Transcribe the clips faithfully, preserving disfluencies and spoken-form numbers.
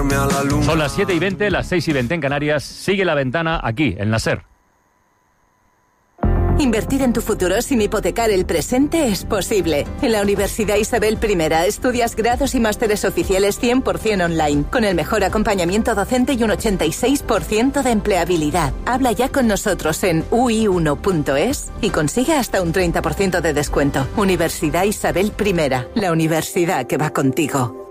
llevarme a la luna. Son las siete y veinte, las seis y veinte en Canarias. Sigue La Ventana aquí, en la SER. Invertir en tu futuro sin hipotecar el presente es posible. En la Universidad Isabel I estudias grados y másteres oficiales cien por ciento online, con el mejor acompañamiento docente y un ochenta y seis por ciento de empleabilidad. Habla ya con nosotros en u i uno punto es y consigue hasta un treinta por ciento de descuento. Universidad Isabel I, la universidad que va contigo.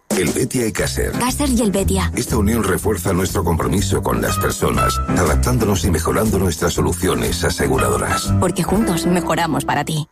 Helvetia y Caser. Caser y Helvetia. Esta unión refuerza nuestro compromiso con las personas, adaptándonos y mejorando nuestras soluciones aseguradoras. Porque juntos mejoramos para ti.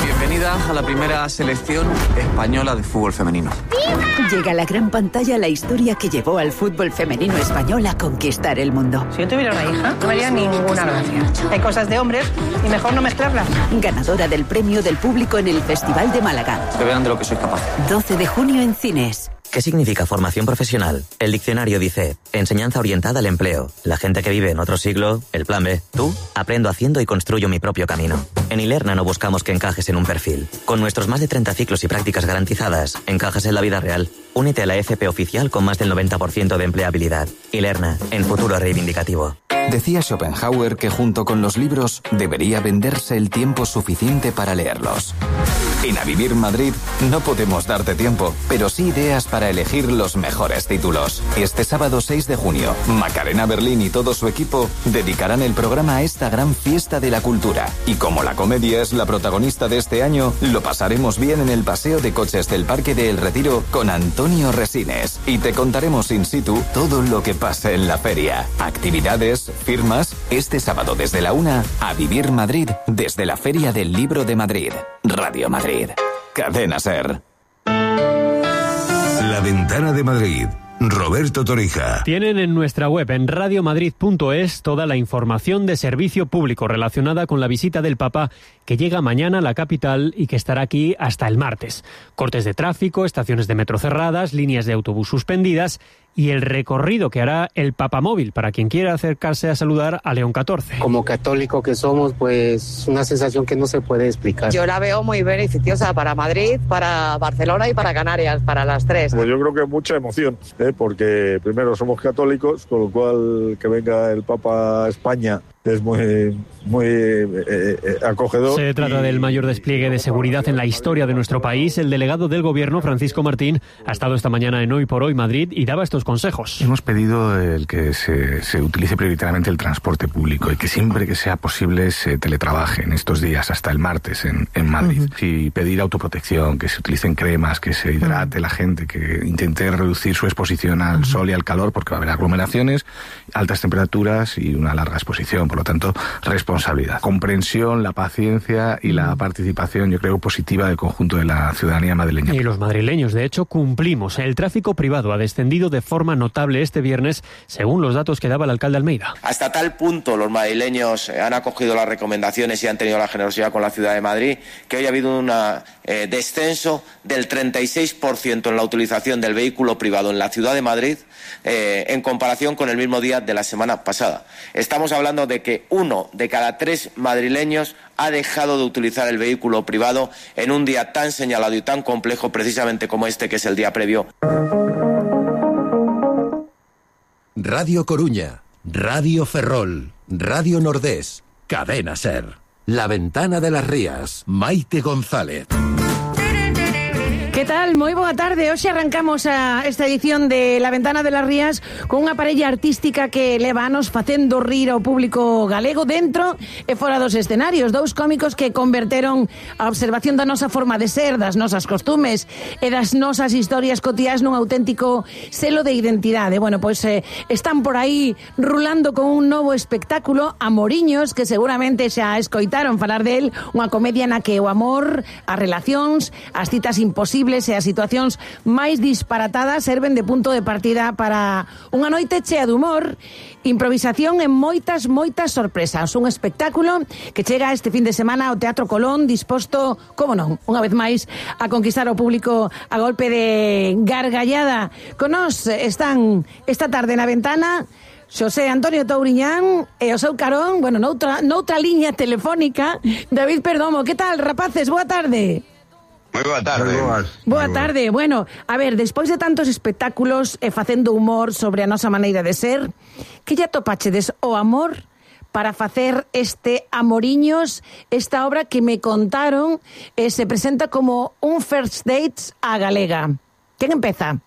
Bienvenida a la primera selección española de fútbol femenino. ¡Viva! Llega a la gran pantalla la historia que llevó al fútbol femenino español a conquistar el mundo. Si yo tuviera una hija, no me haría ninguna gracia. Hay cosas de hombres y mejor no mezclarlas. Ganadora del premio del público en el Festival de Málaga. Que vean de lo que soy capaz. doce de junio en cines. ¿Qué significa formación profesional? El diccionario dice, enseñanza orientada al empleo. La gente que vive en otro siglo, el plan B. Tú, aprendo haciendo y construyo mi propio camino. En Ilerna no buscamos que encajes en un perfil. Con nuestros más de treinta ciclos y prácticas garantizadas, encajas en la vida real. Únete a la F P oficial con más del noventa por ciento de empleabilidad. Ilerna, en futuro reivindicativo. Decía Schopenhauer que junto con los libros debería venderse el tiempo suficiente para leerlos. En A Vivir Madrid no podemos darte tiempo, pero sí ideas para elegir los mejores títulos. Este sábado seis de junio, Macarena Berlín y todo su equipo dedicarán el programa a esta gran fiesta de la cultura. Y como la comedia es la protagonista de este año, lo pasaremos bien en el paseo de coches del Parque de El Retiro con Antonio Resines. Y te contaremos in situ todo lo que pasa en la feria. Actividades, firmas, este sábado desde la una, A Vivir Madrid, desde la Feria del Libro de Madrid. Radio Madrid. Cadena SER. La Ventana de Madrid. Roberto Torija. Tienen en nuestra web en radiomadrid punto es toda la información de servicio público relacionada con la visita del Papa que llega mañana a la capital y que estará aquí hasta el martes. Cortes de tráfico, estaciones de metro cerradas, líneas de autobús suspendidas y el recorrido que hará el Papamóvil para quien quiera acercarse a saludar a León catorce. Como católico que somos, pues una sensación que no se puede explicar. Yo la veo muy beneficiosa para Madrid, para Barcelona y para Canarias, para las tres. Pues yo creo que mucha emoción, ¿eh? Porque primero somos católicos, con lo cual que venga el Papa a España es muy, muy eh, eh, acogedor. Se trata del mayor despliegue de seguridad en la historia de nuestro país. El delegado del Gobierno, Francisco Martín, ha estado esta mañana en Hoy por Hoy Madrid y daba estos consejos. Hemos pedido el que se, se utilice prioritariamente el transporte público y que siempre que sea posible se teletrabaje en estos días, hasta el martes en, en Madrid. Uh-huh. Y pedir autoprotección, que se utilicen cremas, que se hidrate uh-huh. la gente, que intente reducir su exposición al uh-huh. sol y al calor, porque va a haber aglomeraciones, altas temperaturas y una larga exposición. Por lo tanto, responsabilidad, comprensión, la paciencia y la participación, yo creo, positiva del conjunto de la ciudadanía madrileña. Y los madrileños, de hecho, cumplimos. El tráfico privado ha descendido de forma notable este viernes, según los datos que daba el alcalde Almeida. Hasta tal punto los madrileños han acogido las recomendaciones y han tenido la generosidad con la ciudad de Madrid, que hoy ha habido un eh, descenso del treinta y seis por ciento en la utilización del vehículo privado en la ciudad de Madrid, eh, en comparación con el mismo día de la semana pasada. Estamos hablando de que uno de cada tres madrileños ha dejado de utilizar el vehículo privado en un día tan señalado y tan complejo precisamente como este, que es el día previo. Radio Coruña, Radio Ferrol, Radio Nordés, Cadena SER. La Ventana de las Rías, Maite González. Que tal? Moi boa tarde. Hoxe arrancamos a esta edición de La Ventana de las Rías con unha parella artística que leva anos facendo rir ao público galego dentro e fora dos escenarios. Dous cómicos que converteron a observación da nosa forma de ser, das nosas costumes e das nosas historias cotiás nun auténtico selo de identidade. Bueno, pois eh, están por aí rulando con un novo espectáculo, Amoriños, que seguramente xa escoitaron falar del, unha comedia na que o amor, as relacións, as citas imposibles e as situacións máis disparatadas serven de punto de partida para unha noite chea de humor, improvisación e moitas, moitas sorpresas. Un espectáculo que chega este fin de semana ao Teatro Colón, disposto, como non, unha vez máis, a conquistar o público a golpe de gargallada. Con nós están esta tarde na ventana Xosé Antonio Touriñán e o seu carón, bueno, noutra, noutra liña telefónica, David Perdomo. Que tal, rapaces? Boa tarde. Moi boa tarde. Boa tarde. Bueno, a ver, despois de tantos espectáculos e eh, facendo humor sobre a nosa maneira de ser, que lle atopachedes o amor para facer este Amoriños, esta obra que me contaron eh, se presenta como un first dates a galega. Quen empeza?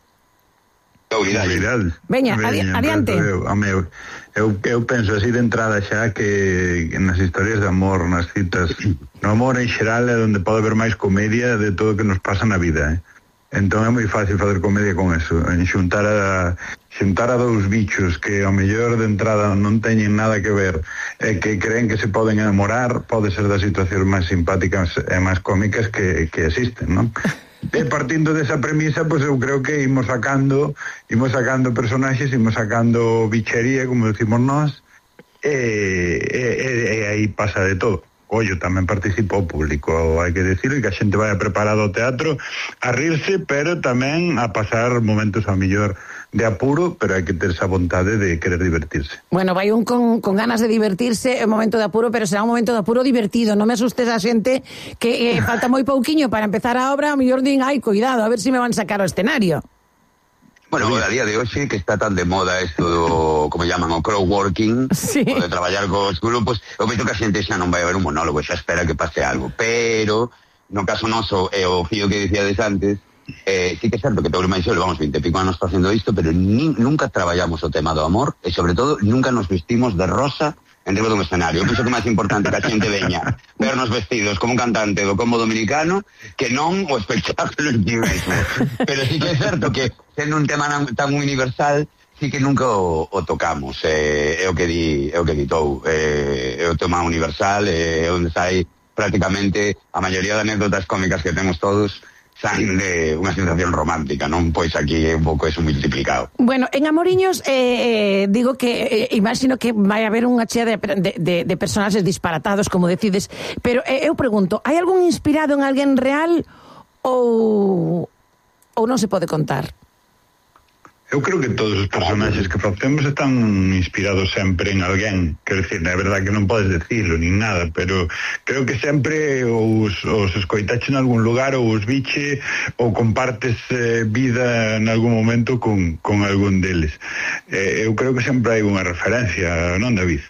Vidal. Veña, adi adiante. Eu, eu, eu, eu penso así de entrada xa que, que nas historias de amor, nas citas, no amor en xeral é onde pode haber máis comedia de todo o que nos pasa na vida, eh? Entón é moi fácil facer comedia con eso, en xuntar a xuntar a dous bichos que ao mellor de entrada non teñen nada que ver e que creen que se poden enamorar, pode ser das situacións máis simpáticas e máis cómicas que, que existen, non? E partindo desa premisa, pois pues eu creo que imos sacando imos sacando personaxes, imos sacando bichería, como decimos nós, e, e, e, e aí pasa de todo. Ollo, tamén participa o público, hai que decirlo, e que a xente vai preparado ao teatro a rirse, pero tamén a pasar momentos ao millor de apuro, pero hai que ter esa vontade de querer divertirse. Bueno, vai un con, con ganas de divertirse en momento de apuro, pero será un momento de apuro divertido. Non me asustes a xente que eh, falta moi pouquiño para empezar a obra, a mellor din, ai, cuidado, a ver se si me van sacar ao escenario. Bueno, a día de hoxe que está tan de moda isto do, como llaman, o crowdworking, sí, o de traballar cos grupos, eu vejo que a xente xa non vai haber un monólogo, xa espera que pase algo, pero no caso noso, e o fío que dicíades antes, eh, sí que é certo que Pedro Maixó levamos vinte e pico anos facendo isto, pero ni, nunca traballamos o tema do amor, e sobre todo nunca nos vestimos de rosa en riba dun escenario. Eu penso que é máis importante que a xente veña vernos vestidos como un cantante do combo dominicano que non o espectáculo en ti mesmo. Pero sí que é certo que sendo un tema tan universal, sí que nunca o, o tocamos. Eh, é o que di, é o que ditou. Eh, é o tema universal, é eh, onde sai prácticamente a maioría de anécdotas cómicas que temos todos saen de unha sensación romántica, non? Pois aquí é un pouco eso multiplicado. Bueno, en Amoriños eh, eh, digo que eh, imagino que vai haber unha chea de, de, de, de personaxes disparatados, como decides, pero eh, eu pregunto, hai algún inspirado en alguén real ou ou non se pode contar? Eu creo que todos os personaxes que facemos están inspirados sempre en alguén. Quero dicir, é verdade que non podes decirlo nin nada, pero creo que sempre os, os escoitache en algún lugar ou os biche ou compartes eh, vida en algún momento con, con algún deles. Eh, eu creo que sempre hai unha referencia, non, David?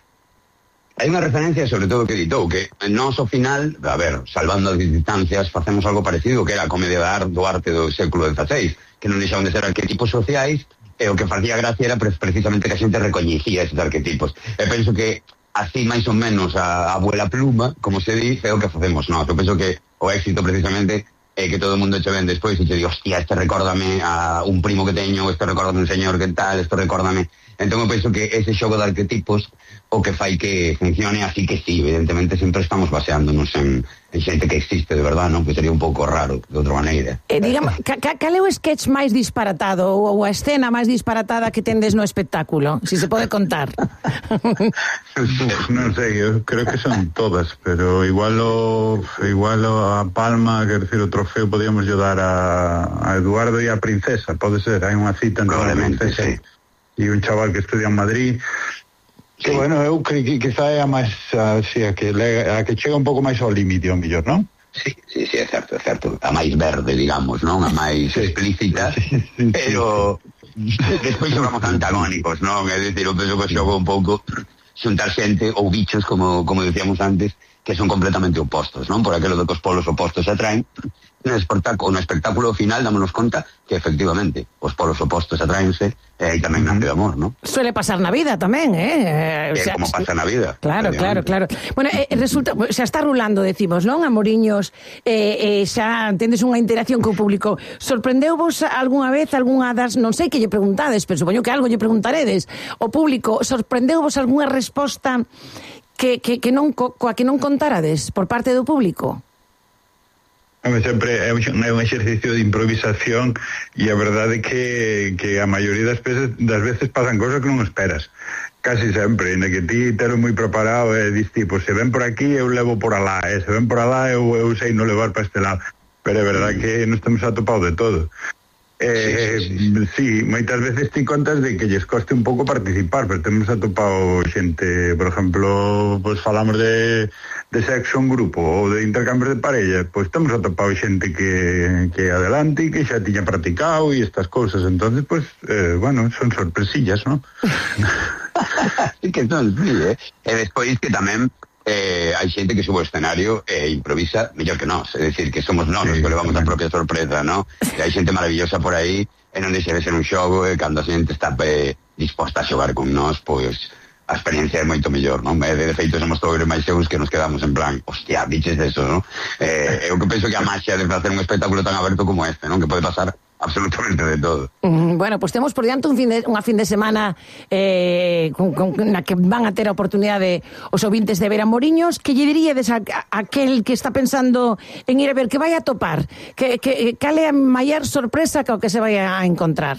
Hai unha referencia sobre todo que editou, que nós ao final, a ver, salvando as distancias, facemos algo parecido que era a comedia do arte do século dezaseis, que non deixaban de ser arquetipos sociais, e o que facía gracia era precisamente que a xente recoñecía esos arquetipos. E penso que así máis ou menos a abuela pluma, como se dice, é o que facemos nós. Eu penso que o éxito precisamente é que todo o mundo che ven despois e che di, hostia, este recórdame a un primo que teño, este recórdame un señor que tal, este recórdame... Entón eu penso que ese xogo de arquetipos o que fai que funcione, así que sí, evidentemente sempre estamos baseándonos en, en xente que existe de verdad, non? Que sería un pouco raro de outra maneira. Eh, digamos, ca, ca, cal é o sketch máis disparatado ou, ou a escena máis disparatada que tendes no espectáculo? Si se pode contar. Non sei, eu creo que son todas, pero igual o, igual o a palma, quer decir, o trofeo podíamos dar a, a Eduardo e a Princesa, pode ser, hai unha cita entre a Princesa sí. E un chaval que estudia en Madrid. Que, sí. Bueno, eu creo que quizá é a máis así, a que, a que chega un pouco máis ao límite, ao millor, non? Sí, sí, sí, é certo, é certo. A máis verde, digamos, non? A máis sí. explícita, sí, sí, pero sí. Despois xogamos antagónicos, non? É dicir, eu penso que xogo un pouco xuntar xente ou bichos, como, como decíamos antes, que son completamente opostos, non? Por aquilo de que os polos opostos se atraen. No espectáculo, no espectáculo final dámonos conta que efectivamente os polos opostos atraense e aí tamén nace de amor, non? Suele pasar na vida tamén, eh? É o sea, como pasa na vida. Claro, claro, claro. Bueno, eh, resulta, xa está rulando, decimos, non? Amoriños, eh, eh, xa tendes unha interacción co público. Sorprendeu-vos algunha vez, algunha das, non sei que lle preguntades, pero supoño que algo lle preguntaredes. O público, sorprendeu-vos algunha resposta que, que, que non, co, coa que non contarades por parte do público? Sempre é un, é un exercicio de improvisación e a verdade é que, que a maioría das veces, das veces pasan cosas que non esperas. Casi sempre, en que ti tero moi preparado e dis tipo, se ven por aquí eu levo por alá, e se ven por alá eu, eu sei non levar para este lado. Pero é verdade que nos temos atopado de todo. Eh, sí, sí, sí. sí, moitas veces ti contas de que lles coste un pouco participar, pero temos atopado xente, por exemplo, pois falamos de, de sexo en grupo ou de intercambios de parella, pois temos atopado xente que, que adelante e que xa tiña practicado e estas cousas, entonces, pois, eh, bueno, son sorpresillas, ¿no? Sí que son, sí, eh? E despois que tamén Eh, hai xente que sube ao escenario e improvisa mellor que nós, é dicir, que somos nós sí, os que levamos a propia sorpresa, ¿no? E hai xente maravillosa por aí e non deixa de ser un xogo e cando a xente está eh, disposta a xogar con nós, pois a experiencia é moito mellor, non? E de feito somos todos máis xeus que nos quedamos en plan, hostia, biches de eso, non? Eh, eu que penso que a maxia de facer un espectáculo tan aberto como este, non? Que pode pasar absolutamente de todo. Mm, bueno, pues temos por diante un fin de, unha fin de semana eh, con, con, na que van a ter a oportunidade os ouvintes de ver a Moriños. Que lle diríades a, a aquel que está pensando en ir a ver, que vai a topar? Que, que, cal é a maior sorpresa que o que se vai a encontrar?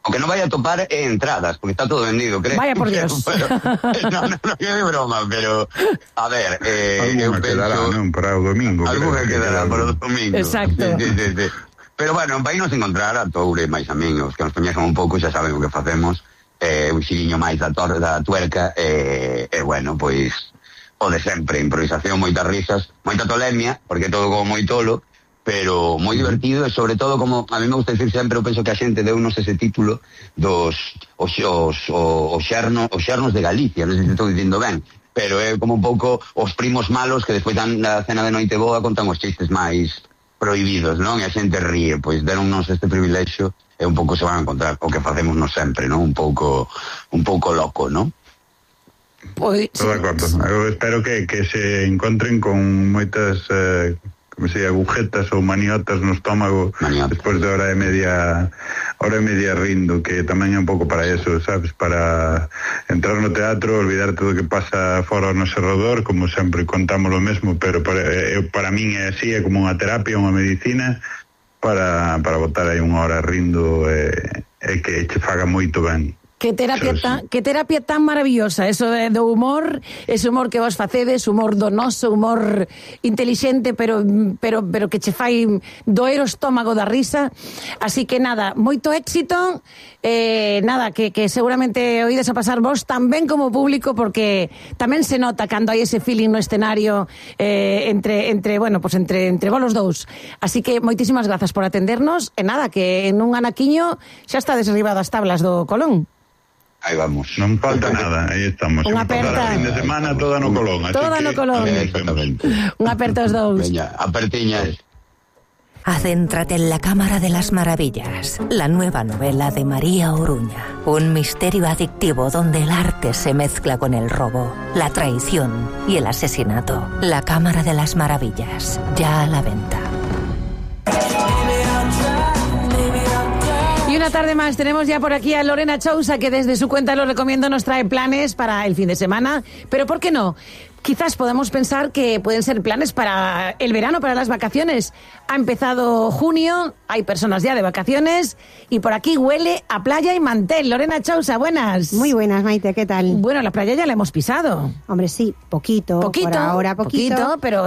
O que non vai a topar é entradas, porque está todo vendido, creo. Vaya por Dios. Pero, no, no, no, é de broma, pero a ver, eh, eu penso... quedará, non, para o domingo. Alguna quedará para o domingo. Exacto. Sí, sí, sí. Pero bueno, vai nos encontrar a Toure máis amigos, que nos coñecen un pouco, xa saben o que facemos, eh, un xiliño máis da, tor da tuerca, e eh, eh, bueno, pois, o de sempre, improvisación, moitas risas, moita tolemia, porque todo como moi tolo, pero moi divertido e sobre todo, como a mí me gusta decir sempre, eu penso que a xente deu-nos ese título dos os, os, os, xerno, os xernos de Galicia, non sei se estou dicindo ben, pero é como un pouco os primos malos que despois dan na cena de noite boa contan os chistes máis prohibidos, non? E a xente ríe, pois deronnos este privilexio e un pouco se van a encontrar o que facemos nos sempre, non? Un pouco un pouco loco, non? Pois... Todo de acordo. Eu espero que, que se encontren con moitas eh, como se agujetas ou maniotas no estómago despois de hora e media hora e media rindo, que tamén é un pouco para eso, sabes? Para entrar no teatro, olvidar todo o que pasa fora ao noso redor, como sempre contamos lo mesmo, pero para, eh, para min é así, é como unha terapia, unha medicina para, para botar aí unha hora rindo e, e que che faga moito ben. Que terapia, tan, que terapia tan maravillosa, eso de, do humor, ese humor que vos facedes, humor donoso, humor intelixente, pero pero pero que che fai doer o estómago da risa. Así que nada, moito éxito, eh, nada, que, que seguramente oídes a pasar vos tamén como público, porque tamén se nota cando hai ese feeling no escenario eh, entre, entre, bueno, pues entre, entre vos los dous. Así que moitísimas grazas por atendernos, e nada, que en un anaquiño xa está desarribado as tablas do Colón. Aí vamos. Non falta nada, aí estamos. Unha aperta. Fin de semana toda no Colón. Toda no Colón. Unha aperta os dous. Veña, apertiñas. Adéntrate en la Cámara de las Maravillas, la nueva novela de María Oruña. Un misterio adictivo donde el arte se mezcla con el robo, la traición y el asesinato. La Cámara de las Maravillas, ya a la venta. Y una tarde más tenemos ya por aquí a Lorena Chousa, que desde su cuenta Lo Recomiendo nos trae planes para el fin de semana. Pero ¿por qué no? Quizás podemos pensar que pueden ser planes para el verano, para las vacaciones. Ha empezado junio, hay personas ya de vacaciones y por aquí huele a playa y mantel. Lorena Chousa, buenas. Muy buenas, Maite, ¿qué tal? Bueno, la playa ya la hemos pisado. Hombre, sí, poquito. Poquito, por ahora poquito. poquito pero...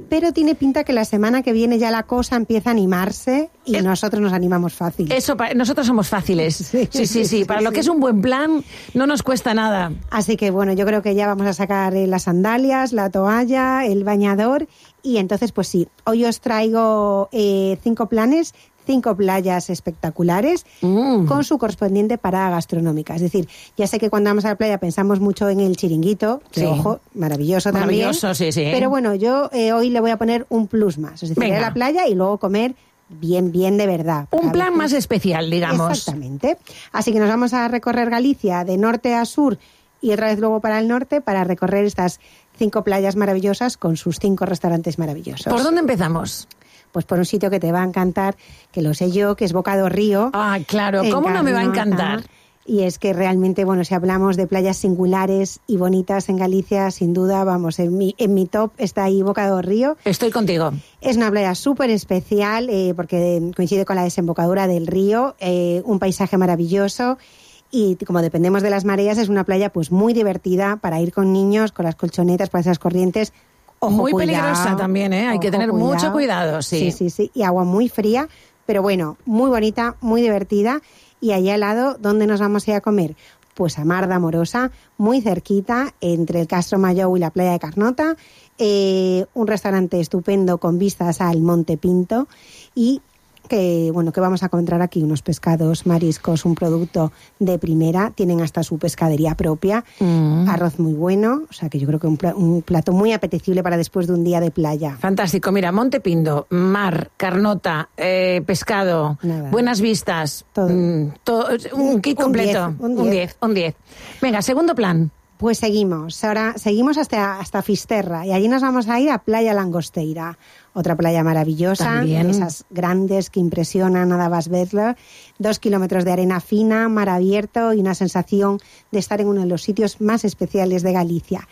Pero tiene pinta que la semana que viene ya la cosa empieza a animarse y es... nosotros nos animamos fácil. Eso, nosotros somos fáciles. Sí, sí, sí. sí. Para sí, lo que sí. es un buen plan, no nos cuesta nada. Así que, bueno, yo creo que ya vamos a sacar eh, las sandalias, la toalla, el bañador y entonces pues sí, hoy os traigo eh, cinco planes, cinco playas espectaculares mm. con su correspondiente parada gastronómica. Es decir, ya sé que cuando vamos a la playa pensamos mucho en el chiringuito, que sí. ojo, maravilloso, maravilloso también. Sí, sí. Pero bueno, yo eh, hoy le voy a poner un plus más, es decir, ir a la playa y luego comer bien, bien de verdad. Un plan más especial, digamos. Exactamente. Así que nos vamos a recorrer Galicia de norte a sur y otra vez luego para el norte para recorrer estas cinco playas maravillosas con sus cinco restaurantes maravillosos. ¿Por dónde empezamos? Pues por un sitio que te va a encantar, que lo sé yo, que es Boca do Río. Ah, claro, ¿cómo no me va a encantar? Y es que realmente, bueno, si hablamos de playas singulares y bonitas en Galicia, sin duda, vamos, en mi, en mi top está ahí Boca do Río. Estoy contigo. Es una playa súper especial eh, porque coincide con la desembocadura del río, eh, un paisaje maravilloso. Y como dependemos de las mareas, es una playa pues muy divertida para ir con niños, con las colchonetas, por esas corrientes. Ojo, muy cuidado, peligrosa también, ¿eh? Hay que tener cuidado. mucho cuidado, sí. Sí, sí, sí. Y agua muy fría, Pero bueno, muy bonita, muy divertida. Y allá al lado, ¿dónde nos vamos a ir a comer? Pues a Mar de Amorosa, muy cerquita, entre el Castro Mayou y la playa de Carnota. Eh, un restaurante estupendo con vistas al Monte Pinto. Y que bueno que vamos a encontrar aquí unos pescados, mariscos, un producto de primera, tienen hasta su pescadería propia, mm. arroz muy bueno, o sea que yo creo que un, pl- un plato muy apetecible para después de un día de playa. Fantástico, mira, Monte Pindo, mar, Carnota, eh, pescado, Nada. buenas vistas, todo, mm, todo un kit completo, un diez, un diez. Venga, segundo plan. Pues seguimos, ahora seguimos hasta, hasta Fisterra y allí nos vamos a ir a Playa Langosteira, otra playa maravillosa, También. esas grandes que impresionan nada más verlo, dos kilómetros de arena fina, mar abierto y una sensación de estar en uno de los sitios más especiales de Galicia.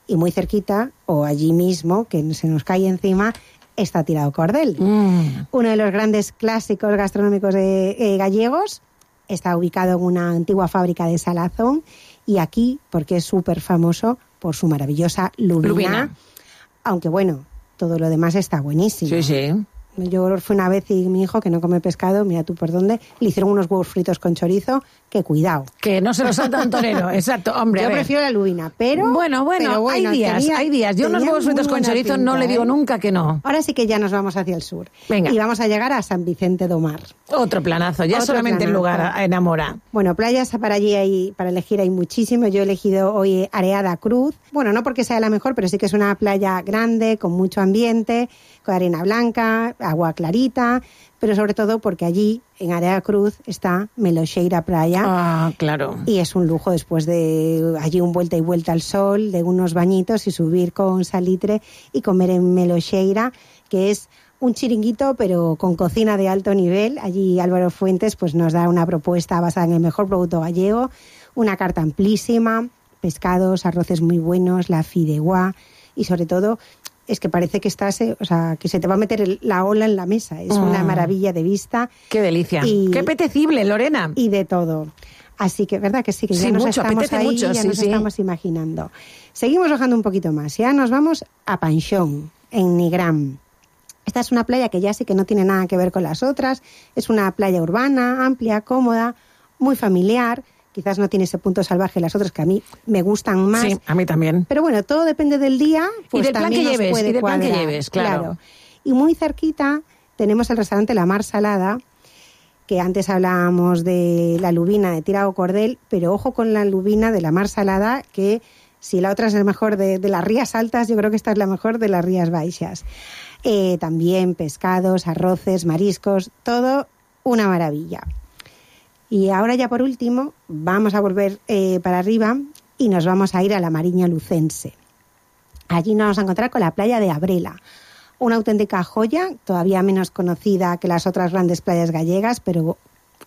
Y muy cerquita, o allí mismo, que se nos cae encima, está Tirao Cordel, mm. uno de los grandes clásicos gastronómicos de, eh, gallegos. Está ubicado en una antigua fábrica de salazón y aquí, porque es súper famoso por su maravillosa lubina, lubina, aunque bueno, todo lo demás está buenísimo. Sí, sí. Yo fui una vez y mi hijo, que no come pescado, mira tú por dónde, le hicieron unos huevos fritos con chorizo, que cuidado. Que no se los salta un torero, exacto, hombre. Yo prefiero la lubina, pero... Bueno, bueno, pero bueno hay días, tenía, hay días. Yo unos huevos fritos con chorizo no le digo ¿eh? nunca que no. Ahora sí que ya nos vamos hacia el sur. Venga. Y vamos a llegar a San Vicente do Mar. Otro planazo, ya Otro solamente planazo. el lugar enamora. Bueno, playas para allí hay, para elegir hay muchísimo. Yo he elegido hoy Areada Cruz. Bueno, no porque sea la mejor, pero sí que es una playa grande, con mucho ambiente, con arena blanca, agua clarita, pero sobre todo porque allí, en Areada Cruz, está Meloxeira Praia. Ah, claro. Y es un lujo después de allí un vuelta y vuelta al sol, de unos bañitos y subir con salitre y comer en Meloxeira, que es un chiringuito, pero con cocina de alto nivel. Allí Álvaro Fuentes pues nos da una propuesta basada en el mejor producto gallego, una carta amplísima, pescados, arroces muy buenos, la fideuá y sobre todo es que parece que estás, eh, o sea, que se te va a meter el, la ola en la mesa. Es oh. una maravilla de vista. ¡Qué delicia! Y, ¡qué apetecible, Lorena! Y de todo. Así que, ¿verdad que sí? Que ya sí, nos mucho, estamos ahí, mucho, ya sí, nos sí. estamos imaginando. Seguimos bajando un poquito más. Ya nos vamos a Panxón, en Nigrán. Esta es una playa que ya sí que no tiene nada que ver con las otras. Es una playa urbana, amplia, cómoda, muy familiar. Quizás no tiene ese punto salvaje las otras que a mí me gustan más. Sí, a mí también. Pero bueno, todo depende del día. Pues y del plan que lleves, y del plan que lleves, claro. claro. Y muy cerquita tenemos el restaurante La Mar Salada, que antes hablábamos de la lubina de Tirao Cordel, pero ojo con la lubina de La Mar Salada, que si la otra es la mejor de, de las Rías Altas, yo creo que esta es la mejor de las Rías Baixas. Eh, también pescados, arroces, mariscos, todo una maravilla. Y ahora ya por último vamos a volver eh, para arriba y nos vamos a ir a la Mariña Lucense. Allí nos vamos a encontrar con la playa de Abrela, una auténtica joya, todavía menos conocida que las otras grandes playas gallegas, pero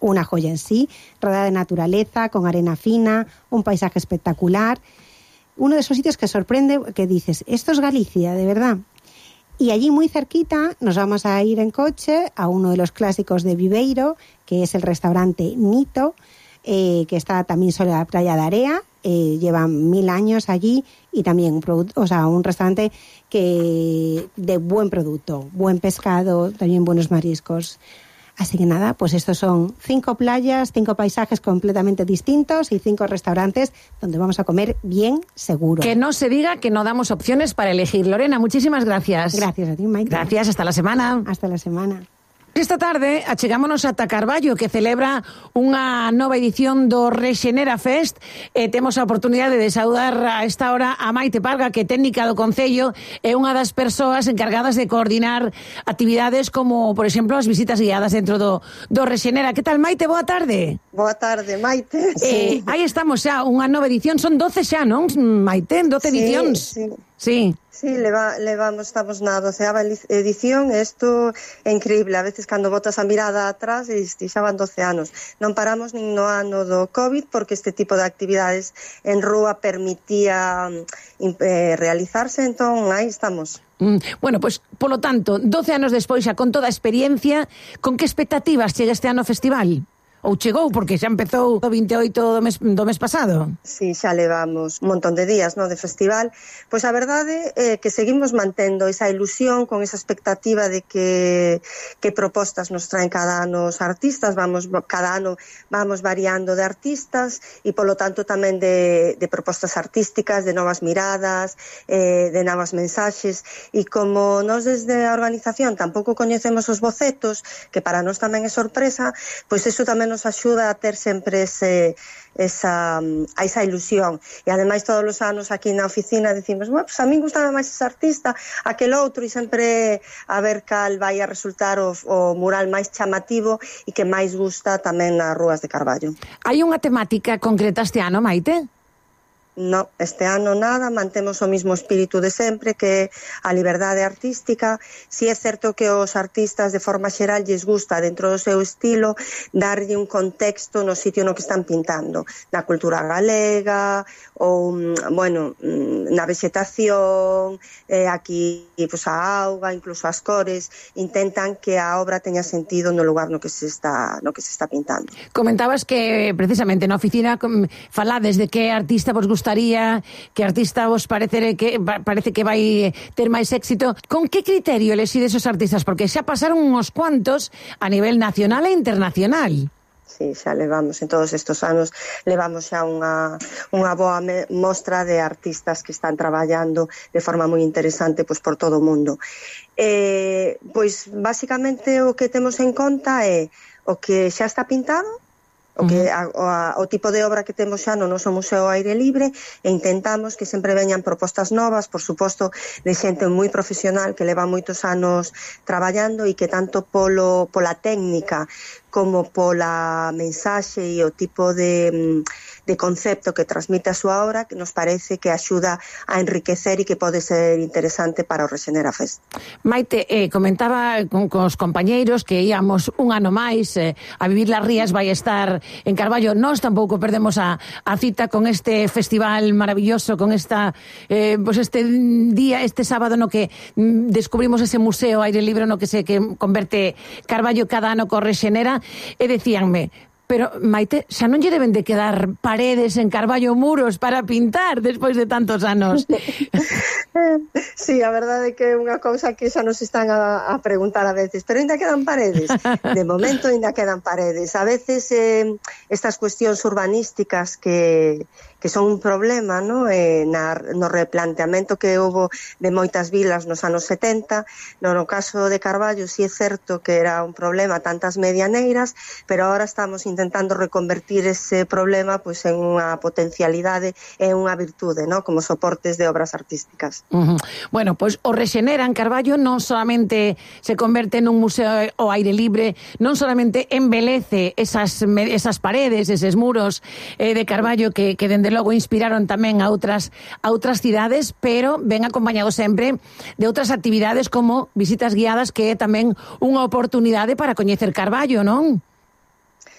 una joya en sí, rodeada de naturaleza, con arena fina, un paisaje espectacular. Uno de esos sitios que sorprende, que dices, esto es Galicia, de verdad. Y allí muy cerquita nos vamos a ir en coche a uno de los clásicos de Viveiro, que es el restaurante Nito, eh, que está también sobre la playa de Area, eh, llevan mil años allí y también un, produ- o sea, un restaurante que de buen producto, buen pescado, también buenos mariscos. Así que nada, pues estos son cinco playas, cinco paisajes completamente distintos y cinco restaurantes donde vamos a comer bien seguro. Que no se diga que no damos opciones para elegir. Lorena, muchísimas gracias. Gracias a ti, Maite. Gracias, hasta la semana. Hasta la semana. Esta tarde achegámonos ata Carballo, que celebra unha nova edición do Rexenera Fest. E temos a oportunidade de saudar a esta hora a Maite Parga, que é técnica do Concello, é unha das persoas encargadas de coordinar actividades como, por exemplo, as visitas guiadas dentro do, do Rexenera. Que tal, Maite? Boa tarde. Boa tarde, Maite. Sí. Eh, aí estamos xa, unha nova edición. Son doce xa, non, Maite? doce sí, edicións. Sí, sí. Sí, leva, levamos, estamos na doceava edición, e isto é increíble. A veces cando botas a mirada atrás, e xa van doce anos. Non paramos nin no ano do COVID, porque este tipo de actividades en rúa permitía eh, realizarse, entón aí estamos. Mm, bueno, pois, pues, polo tanto, doce anos despois, xa con toda a experiencia, con que expectativas chega este ano o festival? Ou chegou, porque xa empezou o vinte e oito do mes, do mes pasado. Sí, xa levamos un montón de días, no, de festival. Pois a verdade é que seguimos mantendo esa ilusión, con esa expectativa de que, que propostas nos traen cada ano os artistas. Vamos, cada ano vamos variando de artistas e, polo tanto, tamén de, de propostas artísticas, de novas miradas, eh, de novas mensaxes. E como nós desde a organización tampouco coñecemos os bocetos, que para nós tamén é sorpresa, pois eso tamén nos axuda a ter sempre ese, esa, a esa ilusión. E ademais todos os anos aquí na oficina decimos, bueno, pues a min gustaba máis ese artista, aquel outro, e sempre a ver cal vai a resultar o, o mural máis chamativo e que máis gusta tamén nas rúas de Carballo. Hai unha temática concreta este ano, Maite? No, este ano nada, mantemos o mismo espírito de sempre, que é a liberdade artística. Si é certo que os artistas de forma xeral lles gusta, dentro do seu estilo, darlle un contexto no sitio no que están pintando, na cultura galega, ou, bueno, na vegetación, eh, aquí, pues, a auga, incluso as cores, intentan que a obra teña sentido no lugar no que se está, no que se está pintando. Comentabas que, precisamente, na oficina falades de que artista vos gusta que artista vos parece que parece que vai ter máis éxito. Con que criterio elexides os artistas? Porque xa pasaron uns cuantos a nivel nacional e internacional. Sí, xa levamos, en todos estes anos, levamos xa unha, unha boa mostra de artistas que están traballando de forma moi interesante, pois, por todo o mundo. Eh, pois, basicamente, o que temos en conta é o que xa está pintado, o que a, a, o tipo de obra que temos xa no noso museo ao aire libre, e intentamos que sempre veñan propostas novas, por suposto, de xente moi profesional que leva moitos anos traballando e que tanto polo, pola técnica como pola mensaxe e o tipo de, de concepto que transmite a súa obra, que nos parece que axuda a enriquecer e que pode ser interesante para o Rexenera Fest. Maite, eh, comentaba con, con os compañeiros que íamos un ano máis eh, a Vivir las Rías, vai estar en Carballo. Nós tampouco perdemos a, a cita con este festival maravilloso, con esta eh, pues este día, este sábado no que mm, descubrimos ese museo aire libre no que se que converte Carballo cada ano co Rexenera. E decíanme, pero, Maite, xa non lle deben de quedar paredes en Carballo, muros para pintar despois de tantos anos? Sí, a verdade é que é unha cousa que xa nos están a, a preguntar a veces, pero ainda quedan paredes. De momento ainda quedan paredes. A veces eh, estas cuestións urbanísticas que que son un problema, ¿no? Eh, na, no replanteamento que houve de moitas vilas nos anos setenta. No, no caso de Carballo, sí é certo que era un problema tantas medianeiras, pero ahora estamos intentando reconvertir ese problema pues, en unha potencialidade e unha virtude, ¿no? Como soportes de obras artísticas. Uh-huh. Bueno, pues o Rexenera en Carballo non solamente se converte nun museo ao aire libre, non solamente embelece esas, esas paredes, eses muros eh, de Carballo que, que dende logo inspiraron tamén a outras a outras cidades, pero ven acompañado sempre de outras actividades como visitas guiadas, que é tamén unha oportunidade para coñecer Carballo, non?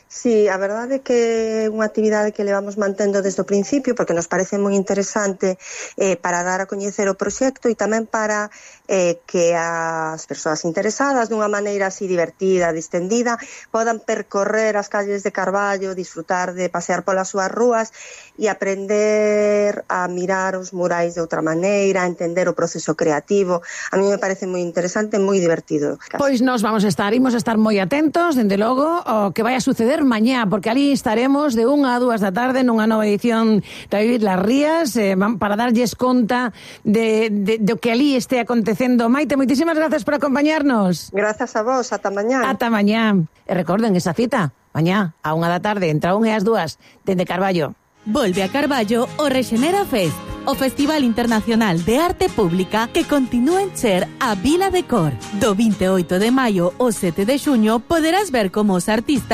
Sí, a verdade é que é unha actividade que levamos mantendo desde o principio, porque nos parece moi interesante eh, para dar a coñecer o proxecto e tamén para eh, que as persoas interesadas, dunha maneira así divertida, distendida, podan percorrer as calles de Carballo, disfrutar de pasear polas súas rúas e aprender a mirar os murais de outra maneira, a entender o proceso creativo. A mí me parece moi interesante, moi divertido. Pois nos vamos a estar, imos a estar moi atentos, dende logo, o que vai a suceder mañá, porque ali estaremos de unha a dúas da tarde nunha nova edición de Vivir las Rías, eh, para darlles conta de, de, de que ali este acontecendo. Maite, moitísimas gracias por acompañarnos. Grazas a vos, ata mañá. Ata mañá. E recorden esa cita, mañá a unha da tarde, entre a unha e as dúas, dende Carballo. Volve a Carballo o Rexenera Fest, o Festival Internacional de Arte Pública que continúa en Cher a Vila de Cor. Do vinte e oito de maio ao sete de xuño poderás ver como os artistas